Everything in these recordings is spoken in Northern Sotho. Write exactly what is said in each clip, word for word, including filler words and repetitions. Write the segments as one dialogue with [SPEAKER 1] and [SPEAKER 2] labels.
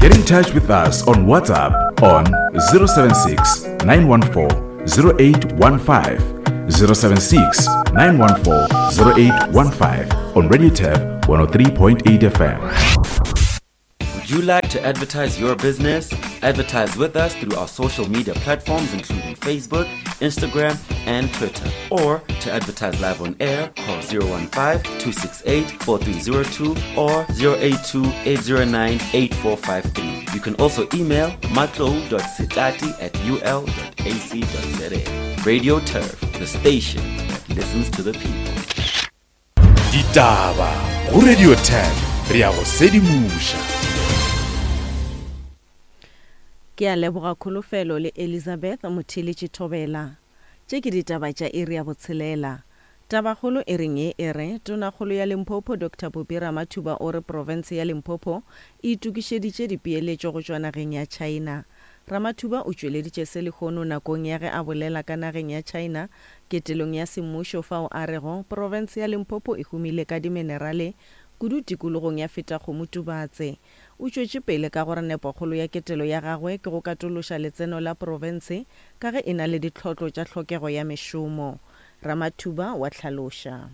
[SPEAKER 1] Get in touch with us on WhatsApp on zero seven six, nine one four, zero eight one five, zero seven six, nine one four, zero eight one five on Radio Turf one oh three point eight F M.
[SPEAKER 2] Would you like to advertise your business? Advertise with us through our social media platforms including Facebook, Instagram and Twitter. Or to advertise live on air, call zero one five, two six eight, four three zero two or zero eight two, eight zero nine, eight four five three. You can also email matlou dot setati at u l dot a c dot z a. Radio Turf, the station that listens to the people.
[SPEAKER 1] Ditaba go Radio Turf, re a go sedimoša.
[SPEAKER 3] Ke a leboga Kholofelo le Elizabeth Motheletši Thobela. Tše ke ditaba tša iri ya botshelela. Tabakgolo e reng ye e re Tonakgolo ya Limpopo Doctor Phophi Ramathuba o re profense ya Limpopo e itokišeditše dipeeletšo go tšwa nageng ya China. Ramathuba o tšweleditše se lehono nakong ya ge a bolela ka nageng ya China ketelong ya semmušo fao a rego profense ya Limpopo e humile ka diminerale kudu tikologong ya Fetakgomo Tubatse. O tšwetše pele ka gore nepokgolo ya ketelo ya gagwe ke go katološa letseno la profense ka ge e na le ditlhotlo tša tlhokego ya mešomo. Ramathuba wa hlaloša.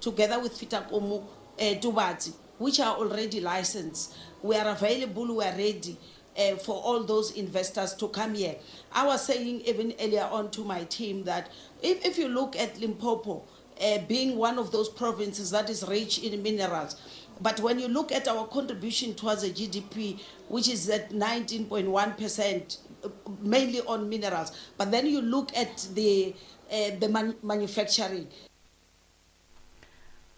[SPEAKER 4] Together with Fetakgomo, eh, Tubatse, which are already licensed, we are available, we are ready, eh, for all those investors to come here. I was saying even earlier on to my team that if, if you look at Limpopo, uh, being one of those provinces that is rich in minerals, but when you look at our contribution towards the G D P, which is at nineteen point one percent, mainly on minerals, but then you look at the, uh, the man-, manufacturing.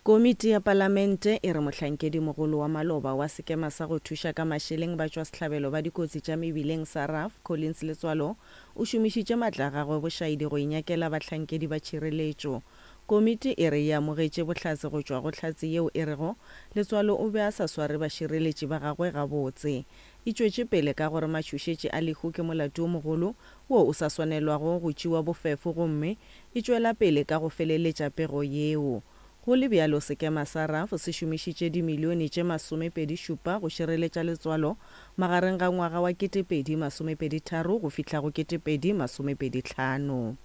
[SPEAKER 3] Komiti ya Palamente e re mohlankedi mogolo wa maloba wa sekema sa go thuša ka mašeleng ba tšwa sehlabelo ba dikotsi tša mebileng sa R A F, Collins Letsoalo, o šomišitše matla a gagwe bošaedi go inyakela bahlankedi ba tšhireletšo. Komiti e re e amogetše bohlatse go tšwa go hlatse yeo e rego Letsoalo o be a sa sware bašireletši ba gagwe gabotse. E tšwetše pele ka gore matšhošetši a lehu ke molato o mogolo wo o sa swanelwago go tšewa bofefo gomme e tšwela pele ka go feleletša pego yeo. Go le bjalo sekema sa R A F se šomišitše dimilione tše masomepedi šupa go šireletša Letsoalo magareng ga ngwaga wa ketepedi masomepedi tharo go fihla go ketepedi masomepedi hlano.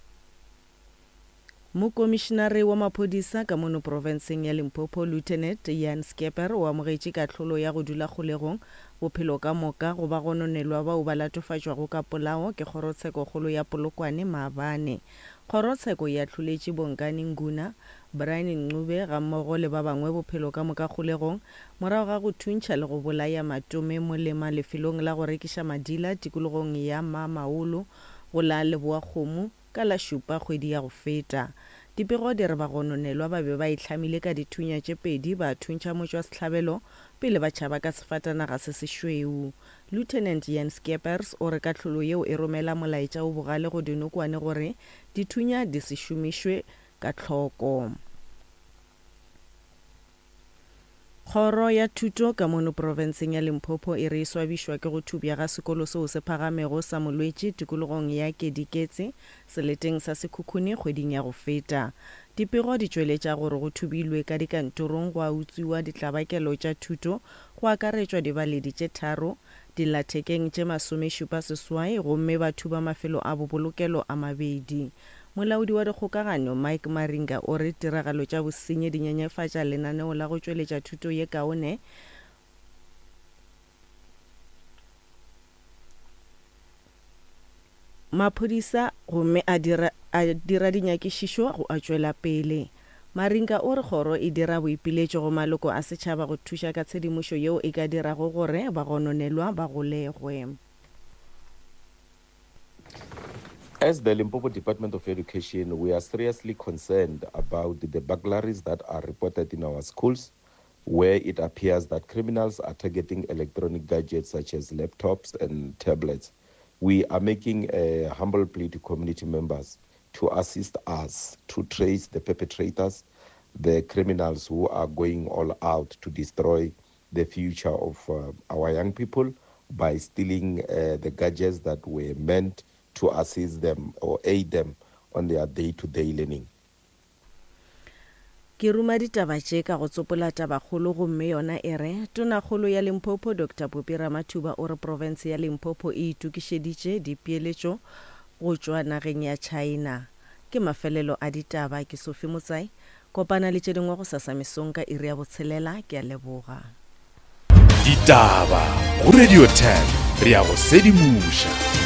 [SPEAKER 3] Mokomišenare wa maphodisa ka mono profenseng ya Limpopo, Lieutenant Jan Skeper, o amogetše kahlolo ya go dula kgolegong bophelo ka moka go ba gononelwa bao ba latofatšwago ka polao ke kgorotshekokgolo ya Polokwane maabane. Kgorotsheko e ahloletše Bongani Nguna, Brian Ncube gammogo le ba bangwe bophelo ka moka kgolegong morago ga go thuntšha le go bolaya Matome Molema lefelong la go rekiša madila tikologong ya Mamaolo go la Leboakgomo ka la šupa kgwedi ya go feta. Dipego di re bagononelwa ba be ba itlhamile ka dithunya tše pedi ba thuntšha motšwasehlabelo pele ba tšhaba ka sefatanaga se sešweu. Lieutenant Jan Skeepers o re kahlolo yeo e romela molaetša o bogale go dinokwane gore dithunya di se šomišwe ka tlhoko. Kgoro ya thuto ka mono profenseng ya Limpopo e re e swabišwa ke go thubja ga sekolo seo se phagamego sa Molwetši tikologong ya Kediketse seleteng sa Sekhukhune kgweding ya go feta. Dipego di tšweletša gore go thubilwe ka dikantorong go a utswiwa ditlabakelo tša thuto go akaretšwa dibaledi tše tharo, dillathekeng tše masomešupa seswai gomme ba thuba mafelo a bobolokelo a mabedi. Molaodi wa dikgokagano Mike Maringa o re tiragalo tša bosenyi di nyenyefatša lenaneo la go tšweletša thuto ye kaone maphodisa gomme a dira, a dira dinyakišišo go a tšwela pele. Maringa o re kgoro e dira boipiletšo go maloko a setšhaba go thuša ka tshedimošo yeo e ka dirago gore bagononelwa ba golegwe.
[SPEAKER 5] As the Limpopo Department of Education, we are seriously concerned about the burglaries that are reported in our schools, where it appears that criminals are targeting electronic gadgets such as laptops and tablets. We are making a humble plea to community members to assist us to trace the perpetrators, the criminals who are going all out to destroy the future of, uh, our young people by stealing, uh, the gadgets that were meant to assist them or aid them on their day-to-day learning.
[SPEAKER 3] Ke ruma ditaba tše ka go tsopola tabakgolo gomme yona e re, Tonakgolo ya Limpopo Doctor Phophi Ramathuba o re profense ya Limpopo e itokišeditše dipeeletšo go tšwa nageng ya China. Ke mafelelo a ditaba. Ke Sophie Motsai. Kopana le tše dingwe gosasa mesong ka iri ya botshelela. Ke a leboga.
[SPEAKER 1] Ditaba go Radio ten, re a go sedimoša.